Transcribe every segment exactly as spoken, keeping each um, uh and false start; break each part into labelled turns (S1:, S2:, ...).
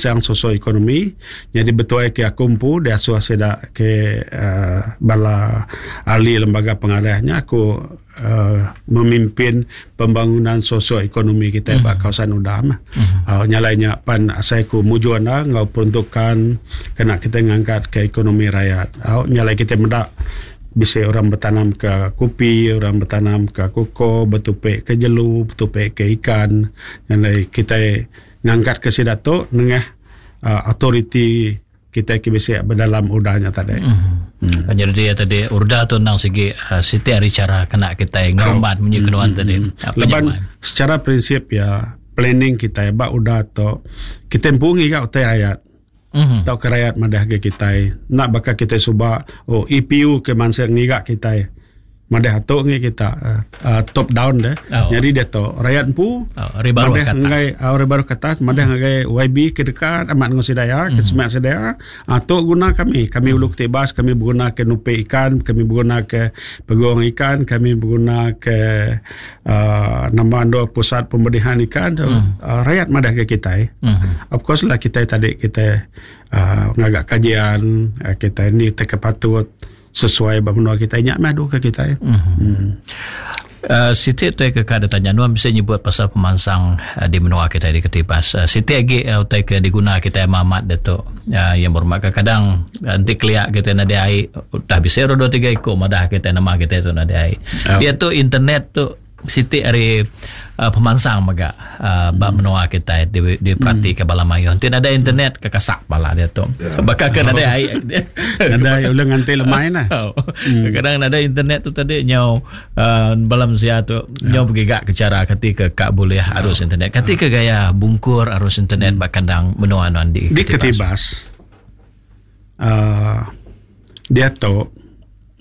S1: Pemansang Sosioekonomi nyadi betuai ke aku empu diasuh sida ke uh, bala ahli lembaga pengarahnya aku uh, memimpin pembangunan sosioekonomi kita mm. ba kawasan Udam. Mm. Uh, nyalainya pan saya ku mujur anda ngau peruntukan kena kita ngangkat ke ekonomi rakyat. Uh, nyalai kita mendak bisa orang bertanam ke kopi, orang bertanam ke koko, bertupik ke jelu, bertupik ke ikan. Nyalai kita ngangkat ke sidato nengah uh, authority kita ke bisa berdalam udahnya tadi.
S2: Mm. Hmm. Jadi dia tadi urda tu nang segi uh, siti hari cara kena kita ngerumbat oh. munyi kenuan hmm. tadi.
S1: Leban secara prinsip ya planning kita ba udah tu kita empungi gak utai rakyat. Mm-hmm. Tau ke rakyat madah ke kita nak bakal kita suba oh E P U ke mangsa ngigak kita madah atuk ngi kita uh, uh, top down deh. Oh. Jadi dia tu rakyat empu
S2: oh, ribaru
S1: madah ngai uh, ribaru ke atas madah mm. ngai Y B ke dekat amat ngau sidaya mm. ke semak sidaya atuk uh, guna kami kami mm. ulu Ketibas kami berguna ke nupe ikan, kami berguna ke peguang ikan, kami berguna ke uh, nama ando pusat pembenihan ikan mm. uh, rakyat madah ke kita. Mm. Of course lah kita tadi kita uh, ngagak kajian uh, kita ni terkepatut sesuai benua kita nyak mah ke kita.
S2: Mm-hmm. Mm. Uh, Siti tu ke kada tanya nuan bisa nyebut pasal pemansang uh, di menua kita di Ketibas. Uh, Siti lagi uh, utai ke diguna kita mamat datuk uh, yang bermak kadang nanti keliak kita na dia dah bisa dua tiga ikut madah kita nama kita tu na dia. Oh. Dia tu internet tu Siti hari uh, pemansang maga uh, hmm. bab menua kita di di perhati ke bala mayu. Nanti ada internet ke kasak bala dia tu. Yeah. Bakal ke ada ai.
S1: Ada ulang nganti lemai nah.
S2: Oh. Hmm. Kadang ada internet tu tadi nyau uh, balam sia tu yeah. nyau bergigak ke cara ketika kak boleh arus yeah. internet. Ketika gaya bungkur arus internet hmm. bak kandang menua nuan di
S1: Di Ketibas. Uh, dia tu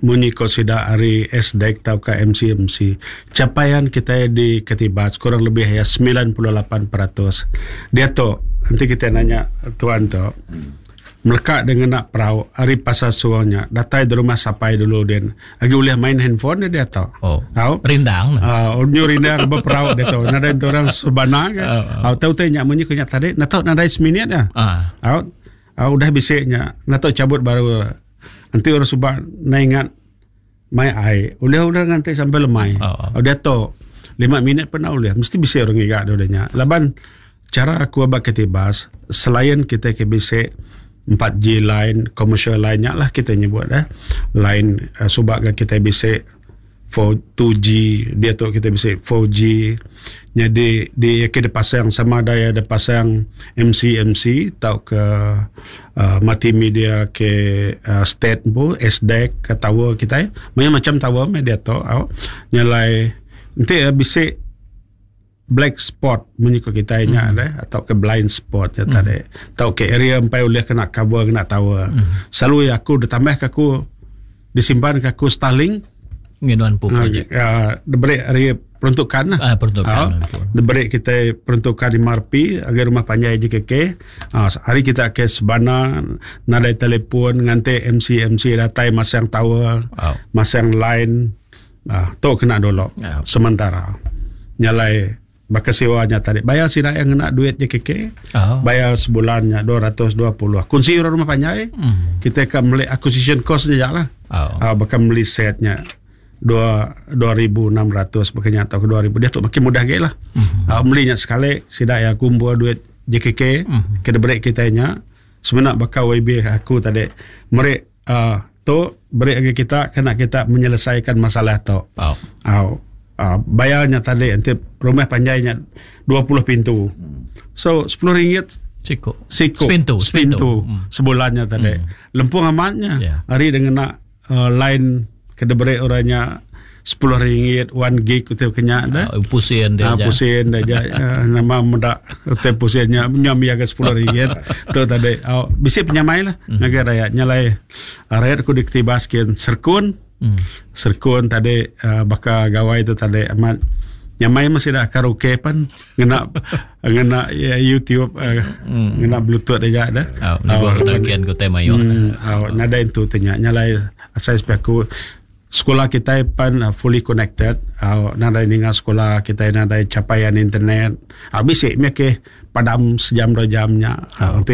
S1: munyi ko sida hari S D E C atau ke M C M C capaian kita di Ketibas kurang lebih ya sembilan puluh lapan peratus. Dia tu nanti kita nanya tuan tu melekat dengan nak perahu hari pasar suangnya datai di rumah sapai dulu dia lagi boleh main handphone dia tu.
S2: Oh. Tahu? Rindang.
S1: Ah, uh, nyu rindang berperahu dia tu. Nada orang subana ke. Oh, oh. Tahu tanya munyi ko nyak tadi nak tahu nadai seminit ya.
S2: Ah.
S1: Tahu? Ah, udah bisiknya nak tahu cabut baru. Nanti orang subak na ingat mai ai. Udah udah nganti sampai lemai.
S2: Oh, oh.
S1: Udah tu lima minit pernah udah mesti bisa orang ingat udahnya. Laban cara aku abak Ketibas selain kita ke bisa empat G line commercial line-nya lah kita nyebut dah. Line uh, subak ke kita bisa four two G dia tu kita bisa four G. Jadi di kita pasang sama ada ada pasang M C M C atau ke uh, multimedia ke uh, state bu S D E C ke tower kita banyak macam tower media tu au nyalai nanti uh, bisa black spot menyikut kita nya mm. ada atau ke blind spot ya tadi mm. atau ke area empai boleh kena cover kena tower mm. Selalu aku ditambah ke aku disimpan ke aku Starlink
S2: nginuan pu projek.
S1: Uh, diberi hari peruntukan lah.
S2: Ah, peruntukan.
S1: Uh, diberi kita peruntukan di Marpi agar rumah panjai J K K. Uh, hari kita ke sebana nadai telefon nganti M C M C datai masang tower,
S2: oh.
S1: masang line. Ah, uh, tu kena dulu.
S2: Oh.
S1: Sementara nyalai bakal sewanya tadi. Bayar sida yang kena duit J K K.
S2: Oh.
S1: Bayar sebulannya dua ratus dua puluh. Kunci rumah panjai.
S2: Mm.
S1: Kita akan beli acquisition cost je lah.
S2: Oh.
S1: Uh, bakal beli setnya. Dua dua ribu enam ratus makanya atau ke dua ribu dia tu makin mudah gak lah.
S2: Mm-hmm.
S1: Uh, belinya sekali sidak ya kumpul duit J K K
S2: mm-hmm.
S1: kena break kita nya sebenarnya bakal Y B aku tadi merek uh, tu break lagi kita kena kita menyelesaikan masalah tu.
S2: Oh.
S1: Uh, uh, bayarnya tadi nanti rumah panjangnya dua puluh pintu. So sepuluh ringgit
S2: siko.
S1: Siko.
S2: Sepintu,
S1: sepintu,
S2: sepintu. Mm.
S1: Sebulannya tadi.
S2: Mm.
S1: Lempung amatnya.
S2: Yeah.
S1: Hari dengan nak uh, line kena beri orangnya sepuluh ringgit one gig utai kenya dah.
S2: Uh, pusin dia.
S1: Ah, pusin dia. Uh, nama muda utai pusinnya nyam ya ke sepuluh ringgit. Tu tadi. Oh, bisi penyamai lah.
S2: Mm.
S1: Ngagai rakyat nyalai. Rakyat ku diktibaskin serkun.
S2: Mm.
S1: Serkun tadi uh, bakal gawai tu tadi amat nyamai masih dah karaoke pan ngena ngena ya, YouTube uh,
S2: mm.
S1: ngena Bluetooth dia dah.
S2: Oh, ni gua tagian ku tema yo.
S1: Hmm, oh, nada itu tanya nyalai saya aku sekolah kita pan uh, fully connected. Uh, nadai ninga sekolah kita nadai capaian internet. Habis uh, sik ke padam sejam dua jamnya.
S2: Oh.
S1: Nanti